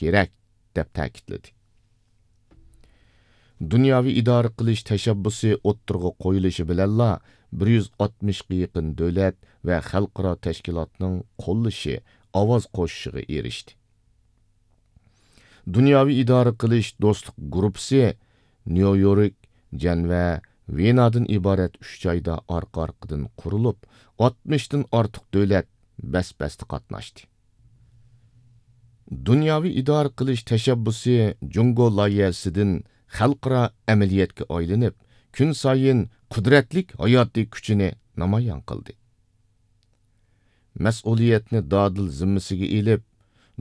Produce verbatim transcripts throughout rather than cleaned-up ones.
كېرەك، دەپ تەكىتلىدى. دۇنياۋى ئىدارە قىلىش تەشەببۇسى ئوتتۇرىغا قويۇلۇشى بىلەنلا، بىر يۈز ئاتمىشقا يېقىن دۆلەت ۋە خەلقئارا تەشكىلاتنىڭ قوللىشى، ئاۋاز قوشۇشىغا ئېرىشتى. دۇنياۋى ئىدارە قىلىش دوستلۇق گۇرۇپپىسى نيۇ يورك، جەنۋە، ۋېنادىن ئىبارەت ئۈچ جايدا ئارقا-ئارقىدىن قۇرۇلۇپ، ئاتمىشتىن ئارتۇق دۆلەت بەس-بەستە قاتناشتى. دۇنياۋى ئىدارە قىلىش تەشەببۇسى جۇڭگو لايىھەسىدىن خەلقئارا ئەمەلىيەتكە ئايلىنىپ، كۈنسايىن قۇدرەتلىك ھاياتىي كۈچىنى نامايان قىلدى. مەسئۇلىيەتنى دادىل زىممىسىگە ئېلىپ،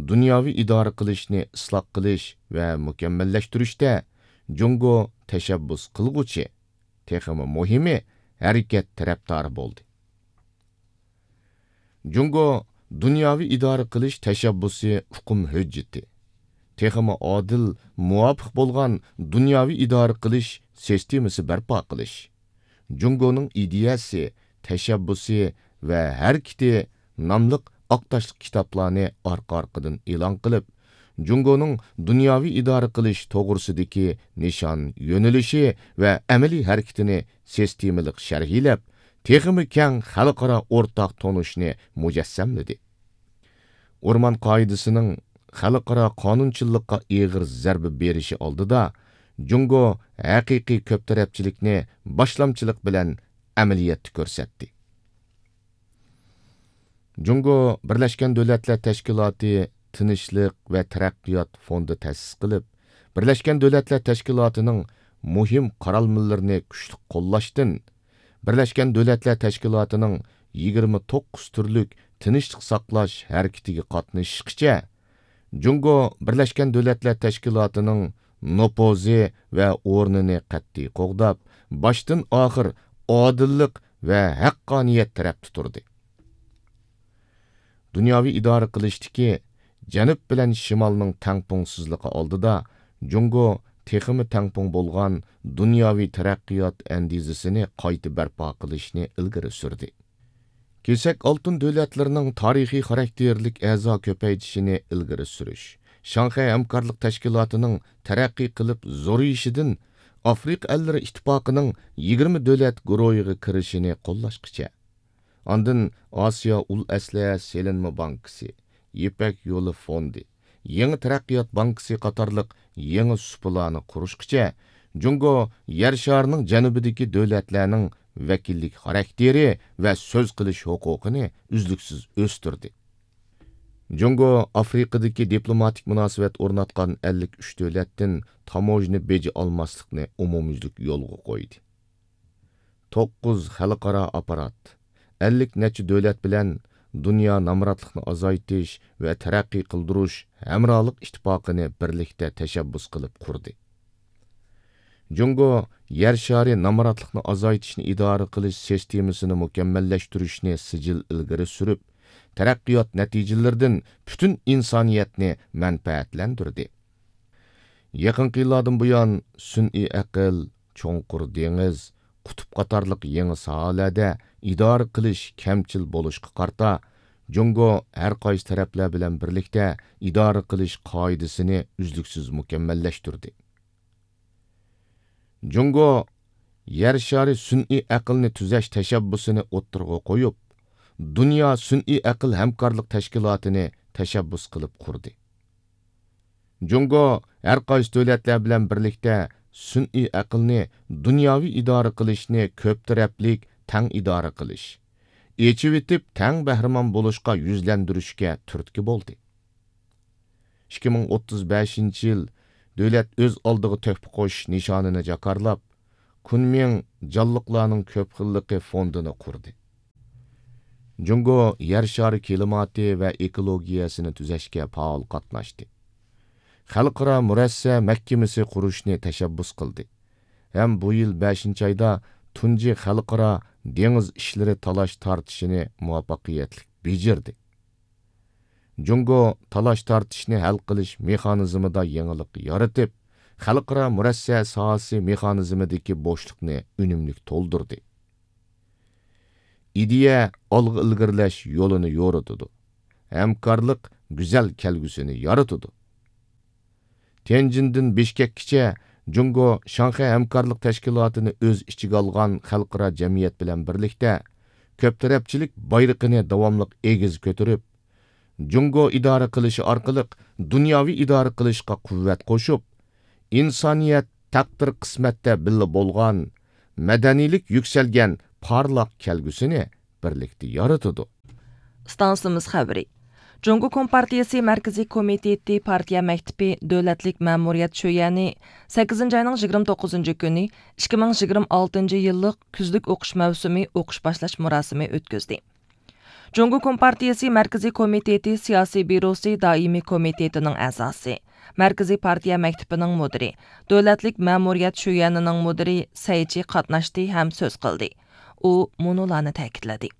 دۇنياۋى ئىدارە قىلىشنى ئىسلاھ قىلىش ۋە مۇكەممەللەشتۈرۈشتە جۇڭگو تەشەببۇس قىلغۇچى، تېخىمۇ مۇھىمى، ھەرىكەت تەرەپدارى بولدى. جۇڭگو دۇنياۋى ئىدارە قىلىش تەشەببۇسى ئۇقۇم ھۆججىتى، تېخىمۇ ئادىل، مۇۋاپىق بولغان دۇنياۋى ئىدارە قىلىش سىستېمىسى بەرپا قىلىش، جۇڭگونىڭ ئىدىيەسى، تەشەببۇسى ۋە ھەرىكىتى ناملىق ئاق تاشلىق كىتابلارنى ئارقا-ئارقىدىن ئېلان قىلىپ، جۇڭگونىڭ دۇنياۋى ئىدارە قىلىش توغرىسىدىكى نىشان، يۆنىلىشى ۋە ئەمەلىي ھەرىكىتىنى سىستېمىلىق شەرھلەپ، تېخىمۇ كەڭ خەلقئارا ئورتاق تونۇشنى مۇجەسسەملىدى. ئورمان قائىدىسىنىڭ خەلقئارا قانۇنچىللىققا ئېغىر زەربە بېرىشى ئالدىدا، جۇڭگو ھەقىقىي كۆپ تەرەپچىلىكنى باشلامچىلىق بىلەن ئەمەلىيەتتە كۆرسەتتى. جۇڭگو بىرلەشكەن دۆلەتلەر تەشكىلاتى تىنچلىق ۋە تەرەققىيات فوندى تەسىس قىلىپ، بىرلەشكەن دۆلەتلەر تەشكىلاتىنىڭ مۇھىم قارالمىلىرىنى كۈچلۈك قوللاشتىن، بىرلەشكەن دۆلەتلەر تەشكىلاتىنىڭ يىگىرمە توققۇز تۈرلۈك تىنچلىق ساقلاش ھەرىكىتىگە قاتنىشىشقىچە، جۇڭگو بىرلەشكەن دۆلەتلەر تەشكىلاتىنىڭ نوپۇزى ۋە ئورنىنى قەتئىي قوغداپ، باشتىن ئاخىر ئادىللىق ۋە ھەققانىيەت تەرەپتە تۇردى. دۇنياۋى ئىدارە قىلىشتىكى جەنۇب بىلەن شىمالنىڭ تەڭپۇڭسىزلىقى ئالدىدا، جۇڭگو تېخىمۇ تەڭپۇڭ بولغان دۇنياۋى تەرەققىيات ئەندىزىسىنى قايتا بەرپا قىلىشنى ئىلگىرى سۈردى. كېسەك ئالتۇن دۆلەتلىرىنىڭ تارىخىي خاراكتېرلىك ئەزا كۆپەيتىشىنى ئىلگىرى سۈرۈش، شاڭخەي ھەمكارلىق تەشكىلاتىنىڭ تەرەققىي قىلىپ زورىيىشىدىن ئافرىقا ئەللىرى ئىتتىپاقىنىڭ يىگىرمە دۆلەت گۇرۇھىغا كىرىشىنى قوللاشقىچە، ئاندىن ئاسىيا ئۇل ئەسلىھە سېلىنما بانكىسى، يىپەك يولى فوندى، يېڭى تەرەققىيات بانكىسى قاتارلىق يېڭى سۇپىلارنى قۇرۇشقىچە، جۇڭگو يەر شارىنىڭ جەنۇبىدىكى دۆلەتلەرنىڭ ۋەكىللىك خاراكتېرى ۋە سۆز قىلىش ھوقۇقىنى ئۈزلۈكسىز ئۆستۈردى. جۇڭگو ئافرىقىدىكى دىپلوماتىك مۇناسىۋەت ئورناتقان ئەللىك ئۈچ دۆلەتتىن تاموژنا بېجى ئالماسلىقنى ئومۇميۈزلۈك يولغا قويدى. توققۇز خەلقئارا ئاپپارات، ئەللىك نەچچە دۆلەت بىلەن دۇنيا نامراتلىقنى ئازايتىش ۋە تەرەققىي قىلدۇرۇش ھەمراھلىق ئىتتىپاقىنى بىرلىكتە تەشەببۇس قىلىپ قۇردى. جۇڭگو يەر شارى نامراتلىقنى ئازايتىشنى ئىدارە قىلىش سىستېمىسىنى مۇكەممەللەشتۈرۈشنى سىجىل ئىلگىرى سۈرۈپ، تەرەققىيات نەتىجىلىرىدىن پۈتۈن ئىنسانىيەتنى مەنپەئەتلەندۈردى. يېقىنقى يىللاردىن بۇيان، سۈنئىي ئەقىل، چوڭقۇر دېڭىز، قۇتۇپ قاتارلىق يېڭى ساھەلەردە ئىدارە قىلىش كەمچىل بولۇشقا قارىتا، جۇڭگو ھەر قايسى تەرەپلەر بىلەن بىرلىكتە ئىدارە قىلىش قائىدىسىنى ئۈزلۈكسىز مۇكەممەللەشتۈردى. جۇڭگو يەر شارى سۈنئىي ئەقىلنى تۈزەش تەشەببۇسىنى ئوتتۇرىغا قويۇپ، دۇنيا سۈنئىي ئەقىل ھەمكارلىق تەشكىلاتىنى تەشەببۇس قىلىپ قۇردى. جۇڭگو ھەر قايسى دۆلەتلەر بىلەن بىرلىكتە سۈنئىي ئەقىلنى دۇنياۋى ئىدارە قىلىشنى كۆپ تەرەپلىك تەڭ ئىدارە قىلىش، ئېچىۋېتىپ تەڭ بەھرىمەن بولۇشقا يۈزلەندۈرۈشكە تۈرتكە بولدى. ئىككى مىڭ ئوتتۇز بەشىنچى يىل دۆلەت ئۆز ئالدىغا تۆھپە قوشۇش نىشانىنى جاكارلاپ، كۇنمىڭ جانلىقلارنىڭ كۆپ خىللىقى فوندىنى قۇردى. جۇڭگو يەر شارى كىلىماتى ۋە ئېكولوگىيەسىنى تۈزەشكە پائال قاتناشتى. خەلقئارا مۇرەسسە مەھكىمىسى قۇرۇشنى تەشەببۇس قىلدى ھەم بۇ يىل بەشىنچى ئايدا تۇنجى خەلقئارا دېڭىز ئىشلىرى تالاش تارتىشىنى مۇۋەپپەقىيەتلىك بېجىردى. جۇڭگو تالاش تارتىشنى ھەل قىلىش مېخانىزمىدا يېڭىلىق يارىتىپ، خەلقئارا مۇرەسسە ساھەسى مېخانىزمىدىكى بوشلۇقنى ئۈنۈملۈك تولدۇردى. ئىدىيە ئالغا ئىلگىرىلەش يولىنى يورۇتىدۇ، ھەمكارلىق گۈزەل كەلگۈسىنى يارىتىدۇ. تيەنجىندىن بىشكەككىچە جۇڭگو شاڭخەي ھەمكارلىق تەشكىلاتىنى ئۆز ئىچىگە ئالغان خەلقئارا جەمئىيەت بىلەن بىرلىكتە، كۆپ تەرەپچىلىك بايرىقىنى داۋاملىق ئېگىز كۆتۈرۈپ، جۇڭگو ئىدارە قىلىشى ئارقىلىق دۇنياۋى ئىدارە قىلىشقا قۇۋۋەت قوشۇپ، ئىنسانىيەت تەقدىر قىسمەتتە بىللە بولغان مەدەنىيلىك يۈكسەلگەن پارلاق كەلگۈسىنى بىرلىكتە يارىتىدۇ. ئىستانسىمىز خەۋىرى. جۇڭگو كومپارتىيىسى مەركىزىي كومىتېتى پارتىيە مەكتىپى دۆلەتلىك مەمۇرىيەت شۆيەنى سەككىزىنچى ئاينىڭ يىگىرمە توققۇزىنچى كۈنى ئىككى مىڭ يىگىرمە ئالتىنچى يىللىق كۈزلۈك ئوقۇش مەۋسۇمى ئوقۇش باشلاش مۇراسىمى ئۆتكۈزدى. جۇڭگو كومپارتىيىسى مەركىزىي كومىتېتى سىياسىي بيۇروسى دائىمىي كومىتېتىنىڭ ئەزاسى، مەركىزىي پارتىيە مەكتىپىنىڭ مۇدىرى، دۆلەتلىك مەمۇرىيەت شۆيەنىنىڭ مۇدىرى سەي چى قاتناشتى ھەم سۆز قىلدى. ئۇ مۇنۇلارنى تەكىتلىدى.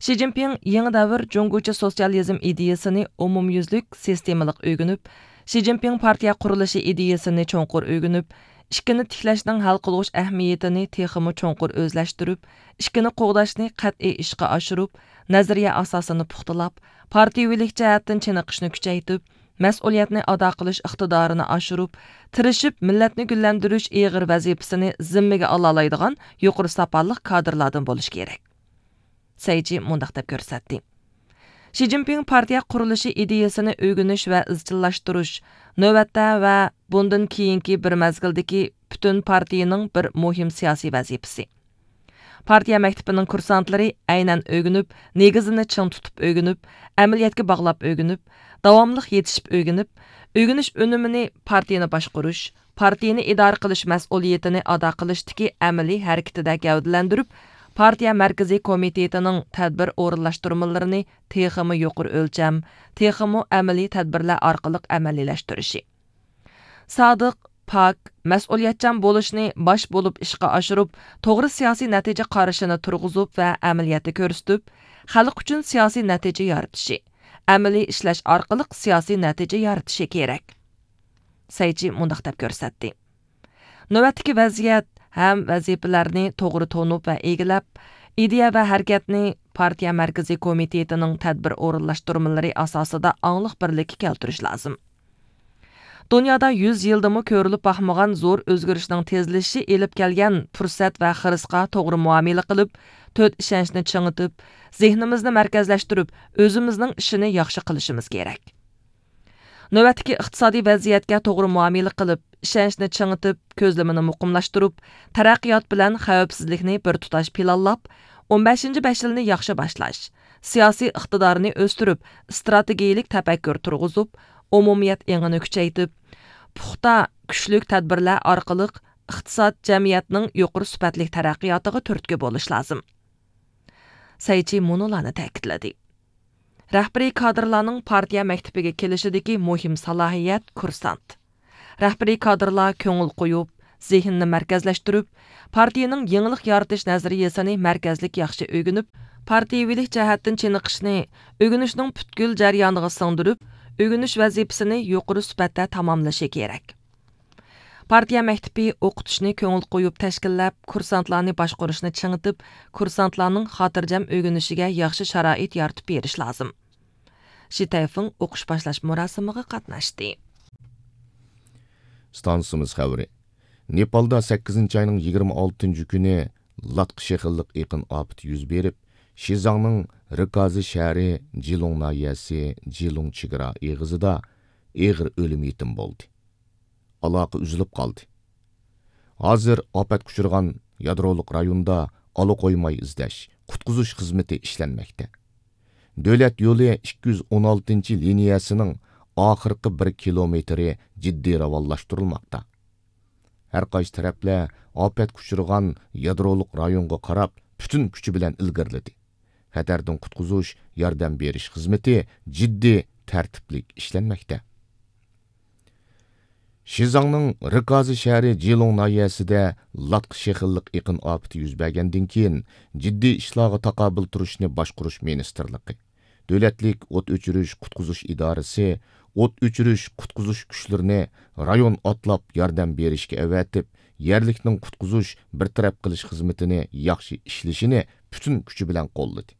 شى جىنپىڭ يېڭى دەۋر جۇڭگوچە سوتسىيالىزم ئىدىيىسىنى ئومۇميۈزلۈك سىستېمىلىق ئۆگىنىپ، شى جىنپىڭ پارتىيە قۇرۇلۇشى ئىدىيىسىنى چوڭقۇر ئۆگىنىپ، ئىككىنى تىكلەشنىڭ ھەل قىلغۇچ ئەھمىيىتىنى تېخىمۇ چوڭقۇر ئۆزلەشتۈرۈپ، ئىككىنى قوغداشنى قەتئىي ئىشقا ئاشۇرۇپ، نەزەرىيە ئاساسىنى پۇختىلاپ، پارتىيىۋىلىك جەھەتتىن چېنىقىشنى كۈچەيتىپ، مەسئۇلىيەتنى ئادا قىلىش ئىقتىدارىنى ئاشۇرۇپ، تىرىشىپ مىللەتنى گۈللەندۈرۈش ئېغىر ۋەزىپىسىنى زىممىگە ئالالايدىغان يۇقىرى ساپالىق كادىرلاردىن بولۇشى كېرەك. سەي چى مۇنداق دەپ كۆرسەتتى. شى جىنپىڭ پارتىيە قۇرۇلۇشى ئىدىيىسىنى ئۆگىنىش ۋە ئىزچىللاشتۇرۇش، نۆۋەتتە ۋە بۇندىن كېيىنكى بىر مەزگىلدىكى پۈتۈن پارتىيىنىڭ بىر مۇھىم سىياسىي ۋەزىپىسى. پارتىيە مەكتىپىنىڭ كۇرسانتلىرى ئەينەن ئۆگىنىپ، نېگىزىنى چىڭ تۇتۇپ ئۆگىنىپ، ئەمەلىيەتكە باغلاپ ئۆگىنىپ، داۋاملىق يېتىشىپ ئۆگىنىپ، ئۆگىنىش ئۈنۈمىنى پارتىيىنى باشقۇرۇش، پارتىيىنى ئىدارە قىلىش مەسئۇلىيىتىنى ئادا قىلىشتىكى ئەمەلىي ھەرىكىتىدە گەۋدىلەندۈرۈپ، پارتىيە مەركىزىي كومىتېتىنىڭ تەدبىر ئورۇنلاشتۇرمىلىرىنى تېخىمۇ يۇقىرى ئۆلچەم، تېخىمۇ ئەمەلىي تەدبىرلەر ئارقىلىق ئەمەلىيلەشتۈرۈشى. سادىق، پاك، مەسئۇلىيەتچان بولۇشنى باش بولۇپ ئىشقا ئاشۇرۇپ، توغرا سىياسىي نەتىجە قارىشىنى تۇرغۇزۇپ ۋە ئەمەلىيەتتە كۆرسىتىپ، خەلق ئۈچۈن سىياسىي نەتىجە يارىتىشى، ئەمەلىي ئىشلەش ئارقىلىق سىياسىي نەتىجە يارىتىشى كېرەك. سەي چى مۇنداق دەپ كۆرسەتتى. نۆۋەتتىكى ۋەزىيەت ھەم ۋەزىپىلەرنى توغرا تونۇپ ۋە ئىگىلەپ، ئىدىيە ۋە ھەرىكەتنى پارتىيە مەركىزىي كومىتېتىنىڭ تەدبىر ئورۇنلاشتۇرمىلىرى ئاساسىدا ئاڭلىق بىرلىككە كەلتۈرۈش لازىم. دۇنيادا يۈز يىلدىمۇ كۆرۈلۈپ باقمىغان زور ئۆزگىرىشنىڭ تېزلىشىشى ئېلىپ كەلگەن پۇرسەت ۋە خىرىسقا توغرا مۇئامىلە قىلىپ، تۆت ئىشەنچنى چىڭىتىپ، زېھنىمىزنى مەركەزلەشتۈرۈپ، ئۆزىمىزنىڭ ئىشىنى ياخشى قىلىشىمىز كېرەك. نۆۋەتتىكى ئىقتىسادىي ۋەزىيەتكە توغرا مۇئامىلە قىلىپ، ئىشەنچنى چىڭىتىپ، كۆزلىمىنى مۇقىملاشتۇرۇپ، تەرەققىيات بىلەن خەۋپسىزلىكنى بىر تۇتاش پىلانلاپ، ئون بەشىنچى بەش يىلنى ياخشى باشلاش، سىياسىي ئىقتىدارنى ئۆستۈرۈپ، ئىستراتېگىيىلىك تەپەككۇر تۇرغۇزۇپ، ئومۇمىيەت ئېڭىنى كۈچەيتىپ، پۇختا، كۈچلۈك تەدبىرلەر ئارقىلىق ئىقتىساد، جەمئىيەتنىڭ يۇقىرى سۈپەتلىك تەرەققىياتىغا تۈرتكە بولۇش لازىم. سەي چى مۇنۇلارنى تەكىتلىدى. رەھبىرىي كادىرلارنىڭ پارتىيە مەكتىپىگە كېلىشىدىكى مۇھىم سالاھىيەت كۇرسانت. رەھبىرىي كادىرلار كۆڭۈل قويۇپ، زېھنىنى مەركەزلەشتۈرۈپ، پارتىيىنىڭ يېڭىلىق يارىتىش نەزەرىيىسىنى مەركەزلىك ياخشى ئۆگىنىپ، پارتىيىۋىلىك جەھەتتىن چېنىقىشنى ئۆگىنىشنىڭ پۈتكۈل جەريانىغا سىڭدۈرۈپ، ئۆگىنىش ۋەزىپىسىنى يۇقىرى سۈپەتتە تاماملىشى كېرەك. پارتىيە مەكتىپى ئوقۇتۇشنى كۆڭۈل قويۇپ تەشكىللەپ، كۇرسانتلارنى باشقۇرۇشنى چىڭىتىپ، كۇرسانتلارنىڭ خاتىرجەم ئۆگىنىشىگە ياخشى شارائىت يارىتىپ بېرىش لازىم. شى تەيفېڭ ئوقۇش باشلاش مۇراسىمىغا قاتناشتى. ئىستانسىمىز خەۋىرى. نېپالدا سەككىزىنچى ئاينىڭ يىگىرمە ئالتىنچى كۈنى لاتقا شېخىللىق ئېقىن ئاپىتى يۈز بېرىپ، شىزاڭنىڭ رىكازى شەھىرى جىلۇڭ ناھىيەسى جىلۇڭ چېگرا ئېغىزىدا ئېغىر ئۆلۈم يېتىم بولدى. ئالاقە ئۈزۈلۈپ قالدى. ھازىر ئاپەتكە ئۇچرىغان يادرولۇق رايوندا ئالا قويماي ئىزدەش، قۇتقۇزۇش خىزمىتى ئىشلەنمەكتە. دۆلەت يولى ئىككى يۈز ئون ئالتىنچى لىنىيەسىنىڭ ئاخىرقى بىر كىلومېتىرى جىددىي راۋانلاشتۇرۇلماقتا. ھەر قايسى تەرەپلەر ئاپەتكە ئۇچرىغان يادرولۇق رايونغا قاراپ پۈتۈن كۈچى بىلەن ئىلگىرىلىدى. خەتەردىن قۇتقۇزۇش، ياردەم بېرىش خىزمىتى جىددىي، تەرتىپلىك ئىشلەنمەكتە. شىزاڭنىڭ رىكازى شەھىرى جىلۇڭ ناھىيەسىدە لاتقا شېخىللىق ئېقىن ئاپىتى يۈز بەرگەندىن كېيىن، جىددىي ئىشلارغا تاقابىل تۇرۇشنى باشقۇرۇش مىنىستىرلىقى، دۆلەتلىك ئوت ئۆچۈرۈش قۇتقۇزۇش ئىدارىسى ئوت ئۆچۈرۈش قۇتقۇزۇش كۈچلىرىنى رايون ئاتلاپ ياردەم بېرىشكە ئەۋەتىپ، يەرلىكنىڭ قۇتقۇزۇش، بىر تەرەپ قىلىش خىزمىتىنى ياخشى ئىشلىشىنى پۈتۈن كۈچى بىلەن قوللىدى.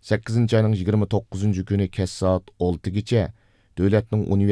سەككىزىنچى ئاينىڭ يىگىرمە توققۇزىنچى كۈنى كەچ سائەت ئالتىگىچە دۆلەتنىڭ ئۇنىۋېرسال